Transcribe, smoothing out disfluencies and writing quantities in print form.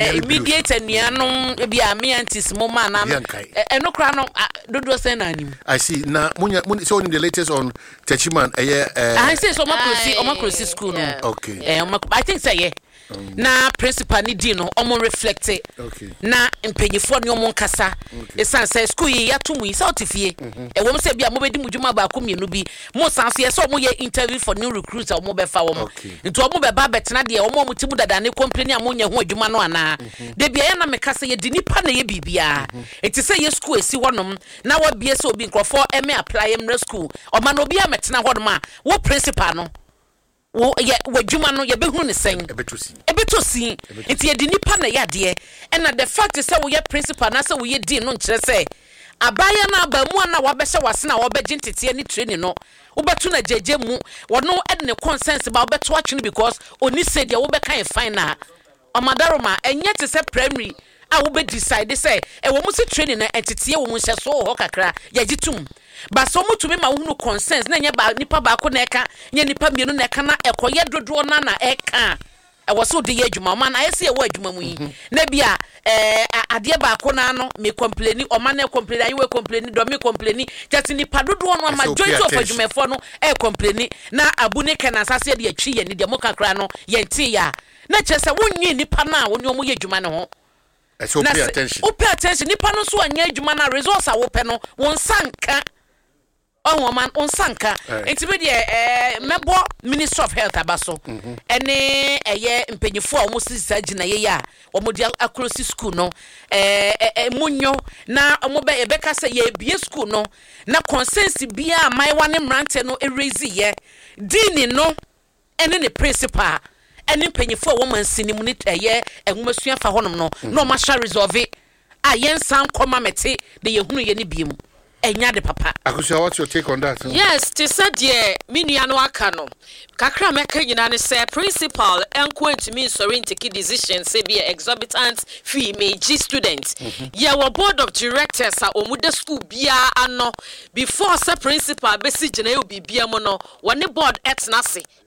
Immediate anuanom bi a me aunties mo ma na ɛno koraa no dodoɔ sɛn na anim. I see. Na munya mun so the latest on Techiman ɛyɛ. I say so ɔmo akorosi school no. Ɔmo, I think sɛ yɛ na principal ni di no, ɔmo reflect na mpanyinfoɔ ne ɔmo nkasa, esan sɛ school yi yɛato mu yi sɛ ɔte fie ɛwɔ mu sɛ bi a mo bɛ di mu dwuma baako mmienu bi mo san so yɛ sɛ ɔmo yɛ interview for new recruits a ɔmo bɛfa wɔn, nti ɔmo bɛba abɛtena deɛ ɔmo a ɔmo ti mu dada ne company a mo nyɛ ho adwuma no anaa debi ɛyɛ na meka sɛ yɛdi nipa na yɛ biribiara. Eti sɛ yɛ school esi hɔnom na wabie sɛ obi nkurɔfoɔ ɛmɛ apply mmerɛ school ɔma na obi a mɛtena hɔnom a, wo principal no wo yɛ w'adwuma no yɛbɛhunu ne sɛn? Ɛbɛtɔ si. Nti yɛde nipa na ɛyɛ adeɛ, ɛna the fact sɛ woyɛ principal na sɛ woyɛ dean no nkyerɛ sɛ abaayewa no abaamuwa no a wabɛhyɛ w'ase na wɔbɛgye nteteɛ ne training no, wobɛto no agyegye mu, wɔno ɛde ne concerns ba wobɛto atwene because oni sɛ deɛ wobɛka yɛ fine. Na ɔmadaroma ɛnyɛ te sɛ primary a wobɛ decide sɛ ɛwɔ mu sɛ training no nteteɛ wɔ mu, nhyɛsoɔ wɔ hɔ kakra, yɛgye tom, ba sɛ ɔmotumi ma wohunu concerns na ɛnyɛ ba nipa baako na ɛka, nyɛ nipa mmienu na ɛka, na ɛkɔyɛ dodoɔ na ɛka a ɛwɔ sɛ wode yɛ adwuma. Ɔma no ayɛ sɛ yɛwɔ adwuma mu yi na bi a adeɛ baako naa no me complain, ɔma no complain, ayewa complain, dɔmi complain, kyɛ sɛ nipa dodoɔ no a majority of adwumayɛfoɔ no ɛ complain na abu ne kɛ na asase de atwi yɛn ni deɛ mo kakra no yɛn ti yɛ a, na kyerɛ sɛ wonwie nipa no a wɔne ɔmo yɛ adwuma no ho. Na sɛ wo pay attention, nipa no nso anyɛ adwuma no a, results a wopɛ no wɔn nsa nka. Ɔho ɔma wo nsa nka. Nti bi deɛ mɛbɔ Ministry of Health aba so ɛne ɛyɛ mpanyinfoɔ a wɔn sisi saa gyinaeɛ yi a wɔn de akorosi school no ɛɛ ɛɛ mu nyo na wɔn bɛ yɛbɛka sɛ yɛbie school no na concerns biara mmaayewa ne mmeranteɛ no erezi yɛ, dean no ɛne ne principal ɛne mpanyinfoɔ a wɔn mansi mu ne ɛyɛ nwomasua fa hɔnom no na wɔn ahyɛ resolve a yɛnsan nkɔma mɛte de yɛhunu yɛ ne bie mu ɛnya de papa. Akosua, what's your take on that? Yes, te sɛ deɛ me nua no aka no kakra a mɛka nyinaa ne sɛ principal nko ntumi nsɔre n take decision sɛ bi yɛ exorbitant fee megye student. Yɛwɔ board of directors a wɔn da school biara ano. Before sɛ principal bɛsi gyina yɛ biribia mu no, wɔne board ɛtena ase.